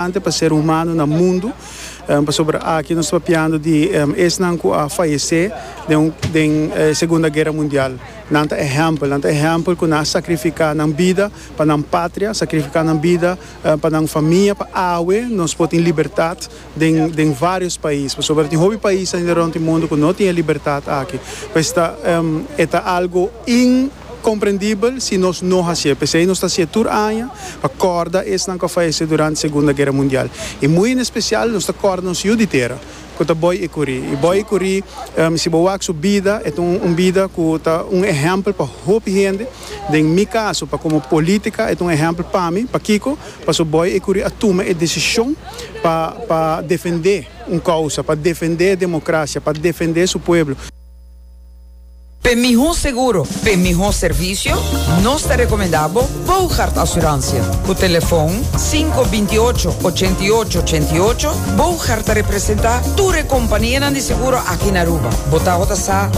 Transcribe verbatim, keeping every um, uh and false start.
Pa ser humano na mundu, um, pasobra aki nos ta papiando di um, esnan ku a fayesé den, den eh, Segunda Guera Mundial. Nan ta ehèmpel, nan ta ehèmpel ku nan a sakrifiká nan bida pa nan patria, sakrifiká nan bida uh, pa nan famia, pa awe nos por tin libertat den, den vários pais. Pasobra tin hopi pais ainda rònt mundu ku no tin libertat aki. Pues ta, um, ta algu inkomprendibel si nos no hasi. P'esei nos ta hasi tur aña pa kòrda esnan ku a fayesé durante Segunda Guera Mundial. I muy en espesial nos ta kòrda nos yu di tera, ku ta Boy Ecury. I Boy Ecury, um, si bo wak su bida, e un, un bida ku ta un ehèmpel pa hopi hende. Den mi kaso, pa komo polítika, e un ehèmpel pa mi, pakiko, paso Boy Ecury a tuma e desishon pa pa defendé un kousa, pa defendé demokrasia, pa defendé su pueblo. Pa mihó seguro, pa mihó servisio, nos ta rekomendá Bogart Assurantie. Ku telefòn sinku bintiòcho, ochentiòcho, ochentiòcho, Bogart ta representá tur kompania di seguro aki na Aruba. Bo ta sa.